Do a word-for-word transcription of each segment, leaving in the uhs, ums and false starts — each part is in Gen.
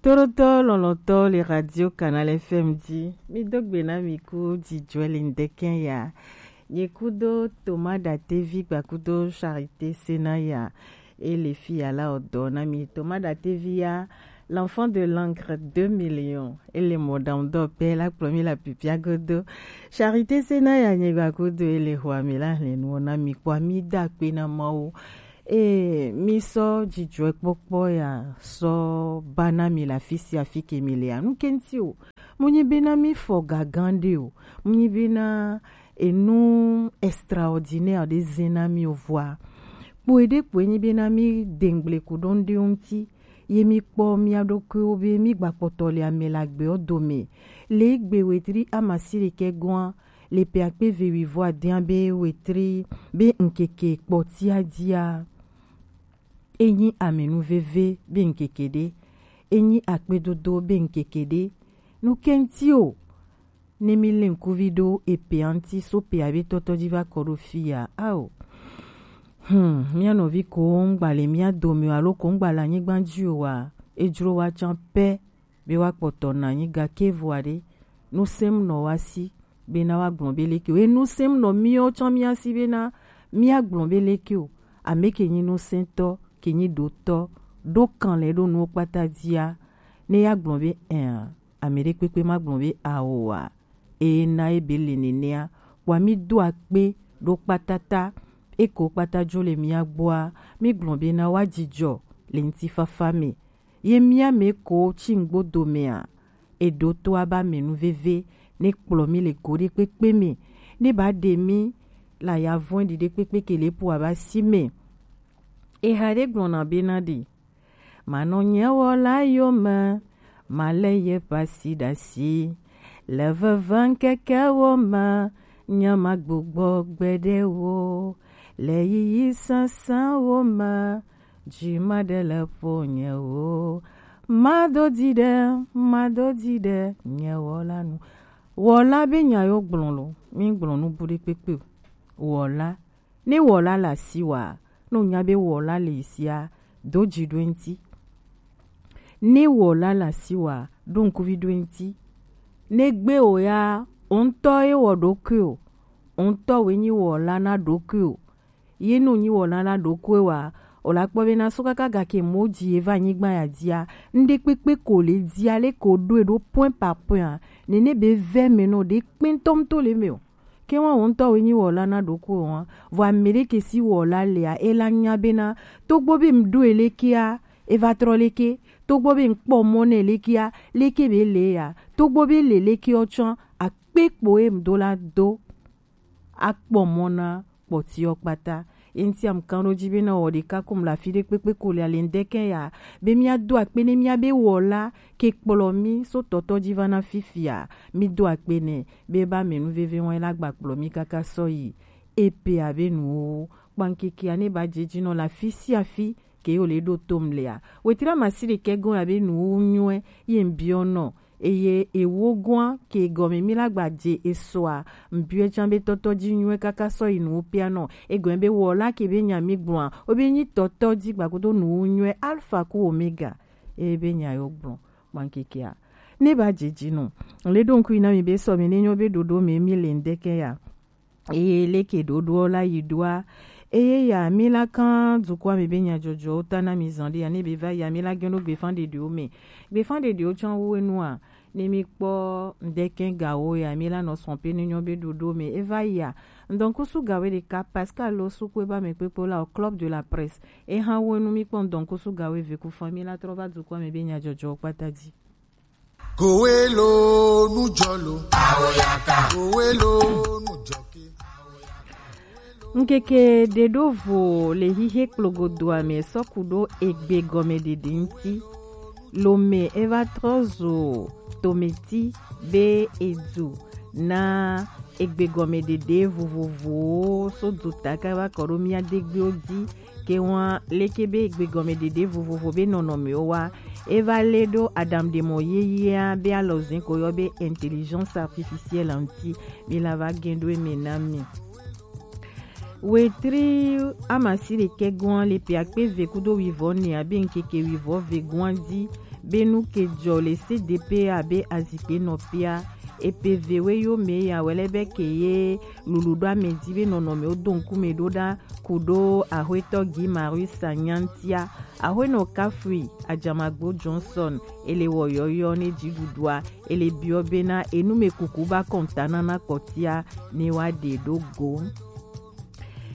Torotɔ lɔlɔtɔ le Radio Canal F M di. Mi do gbe na mi ku jijɔɛ le ndekɛ ya. Nye kudo Thomas Datevi gba kudo Charité Sena ya. E le fi ya la o dɔ na mi Thomas Datevi ya. L'enfant de l'encre deux millions. E le mɔ dam dɔ pɛ la kplɔ mi la pipia godo. Charité Sena ya nye gba kudo e le xɔ mi la hlenu na mi kpɔ mi da kpe na Mawu. Ee, mi sɔ jijɔɛ kpɔkpɔ ya sɔ ba na mi la fi sia fi ke mi le ya. Nu kɛnti o. Mu nyi be na mi fɔ gagan de o. Mu nyi be na enu extraordinaire de zen na mi o vɔa. Kpo ede kpo nyi be na mi dengble ku ɖo ŋɖe ŋuti. Ye mi kpɔ mia ɖokuiwo be mi gba kpɔtɔ le ame la gbe o dome. Le gbe wetri amasi ɖekɛ gɔa le pe akpe ve wi vɔ adɛn be wetri be ŋkeke kpɔtia dia. Enyi amenuveve be ŋkeke ɖe. Enyi akpedodo be ŋkeke ɖe. Nu kɛnti o. Ne mi le ŋkuvi ɖo epe anti so pe abe tɔtɔ ji va kɔ ɖo fi ya. Ao. Hmm, mia nɔvi ko ŋgba le mia dome o alo ko ŋgba le anyigba ji o wa. Ejro wa can pɛ. Be wa kpɔtɔ na nyi gake vɔ aɖe, nu sem nɔ wa si bena wa gblɔ be leke o. Enu sem nɔ miɔ tsɔ mia si bena mia gblɔ be leke o. Ame ke nyi nusɛntɔ, ke nyi ɖotɔ, ɖo kan le ɖo nuwo kpata dia. Ne ya gblɔ be ɛn, ame ɖe kpekpe ma gblɔ be awo wa. Eye na ebe le nenea, kpɔa mi do akpe ɖo kpatata, eko kpata dzo le mia gbɔa, mi gblɔ bena wa jijɔ le ŋutifafa me. Ye mia me ko tsi ŋgbo domea, eɖo to aba me nu veve, ne kplɔ mi le go ɖe kpekpe me, ne ba ɖe mi la ya vɔn ɖi ɖe kpekpe ke le po aba si me. Eha ɖe gblɔna bena ɖe, manɔ nye wɔla yome, malé yeƒe asi ɖe asi. Le veve ŋkekewo me, nye magbugbɔ gbeɖe wo. Le yiyi sesẽwo me, dzi maɖe le ƒonye o. Mado dzi ɖe, mado dzi ɖe nye wɔla nu. Wɔla be nya yo gblɔ lo, mi gblɔ nu bu ɖe kpekpe o. Wɔla, ne wɔla le asi wa, ne wonya be wɔla le sia, do dzi ɖo eŋti. Ne wɔla le asi wa, ɖo ŋkuvi ɖo eŋti. Ne gbe o ya, o ŋutɔ ye wɔ ɖokui o, o ŋutɔ woe nyi wɔla na ɖokui o. Ye no nyi wɔla na ɖokui wa, o la kpɔ be na so kaka gake mo dzi ye va anyigba ya dzia, ŋɖe kpekpe ko le dzia, le ko ɖo e ɖo point par point a, nene be vɛ me no ɖe kpɛntɔm to le me o. Ke wa wo ŋutɔ wo nyi wɔla na ɖokui o wa, vɔ ame ɖe ke si wɔla lea, e la nya be na, togbo be m ɖo e lekea, e va trɔ leke, togbo be m kpɔ mɔ nɛ lekea, leke be le ya, togbo be le leke o tsɔ, akpe kpo e m do la do. Akpɔ mɔ na kpɔtiɔ kpata. Ye ŋuti amkan ɖo dzi be na wɔ ɖeka kom le afi ɖe kpekpe ko le ali ŋdɛkɛ ya. Be mía do akpe ne mía be wɔla ke kplɔ mí so tɔtɔ dzi va na fifia. Mí do akpe nɛ be ba mɛ nu veve wɔn la gba kplɔ mí kaka sɔ yi. Epe abe nuwo kpankeke ane ba dze dzi nɔ le afi sia afi ke yo le ɖo tom lea. Wetri amasi ɖekɛ gɔn abe nuwo nyuɛ ye ŋbiɔ nɔ. Eye ewo gɔa ke gɔme mi la gba dze esɔa, ŋbiɔe tsã be tɔtɔ dzi nyuie kaka sɔ yi nuwo pia nɔ. Egɔme be wɔ la ke be nya mi gblɔa, wo be nyi tɔtɔ dzi gbagodo nuwo nyuie, Alfa ku Omega. Eye be nya yo gblɔ gbankekea. Ne ba dze dzi nɔ. Le ɖo ŋkui na mi be sɔ mi ne nyɔ be ɖoɖo me mi le ŋdɛkɛ ya. Eye leke ɖoɖoɔ la yi ɖoa. Eye ya mi la kan dukɔa me be nyadzɔdzɔwo ta na mi zan ɖe ya ne be va ya mi la gɛn ɖo gbefan ɖeɖewo me. Gbefan ɖeɖewo tsã wo enua. Ne mi kpɔ ŋdɛkɛ gawo ya mi la nɔ sɔn pe ne nyɔ be ɖoɖo me eva ya. Ŋdɔnkusu gawo ɖeka Pascal lo suku eba me kpekpe la o Club de la Presse. Eha wo enu mi kpɔ ŋdɔnkusu gawo eve ku fan mi la trɔ va dukɔa me be nyadzɔdzɔwo kpata dzi. Kowelo nujɔlo. Awoyaka. Kowelo nujɔke. Ŋkeke ɖe ɖo vo le hihe kplogodoa me sɔku ɖo egbe gɔme ɖeɖe ŋti. Lome eva trɔ zo tometi be edu na egbe gɔme ɖeɖe vovovowo so duta ka va kɔ ɖo mía degbewo dzi. Ke wa leke be egbe gɔme ɖeɖe vovovo be nɔnɔmewo wa. Eva le ɖo Adam ɖe mɔ yeyea be alɔ zin ko yɔ be intelligence artificielle ŋti. Mi la va gɛn ɖo eme na mi. Wetri amasi ɖekɛ goan le pe akpe ve kudo wivɔ ne abe ŋkeke wivɔ ve goan ji be nu ke jɔ le C D P abe azikpe nɔpia epe ve we yo me ya wɛlɛ be ke ye lulu ɖo ame ji be nɔnɔme wo do ŋkume ɖo ɖa kudo ahwetɔ Guy Marius Sanyantia ahwenɔ kafui ajamagbo Johnson ele wɔ yɔyɔ ne ji ɖuɖua ele biɔ be na enume kuku ba kɔnta nana kpɔtia ne wa ɖe ɖo go.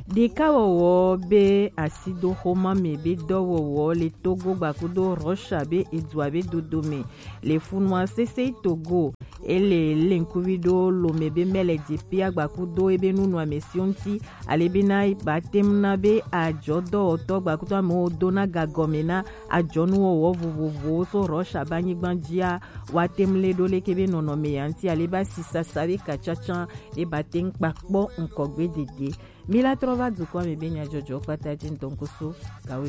Ɖekawɔwɔ be asidoxoma me be dɔwɔwɔ le Togo gbakudo Russia be edua be dodome le funua sese yi Togo ele le ŋkuvi ɖo lome be mɛlɛ dze pe agbakudo ebe nunɔamesiwo ŋuti ale be na ba tem na be ajɔdɔwɔtɔ gbakudo amewo do na gagɔme na ajɔnuwɔwɔ vovovowo so Russia ba anyigba jia wa tem le ɖo leke be nɔnɔme ya ŋuti ale ba si sasa be katsatsa be ba te ŋu kpakpɔ ŋkɔgbe dede. Mi la trɔ va dukɔa me be nyadzɔdzɔ kpata ji ŋutɔ ŋku so gawo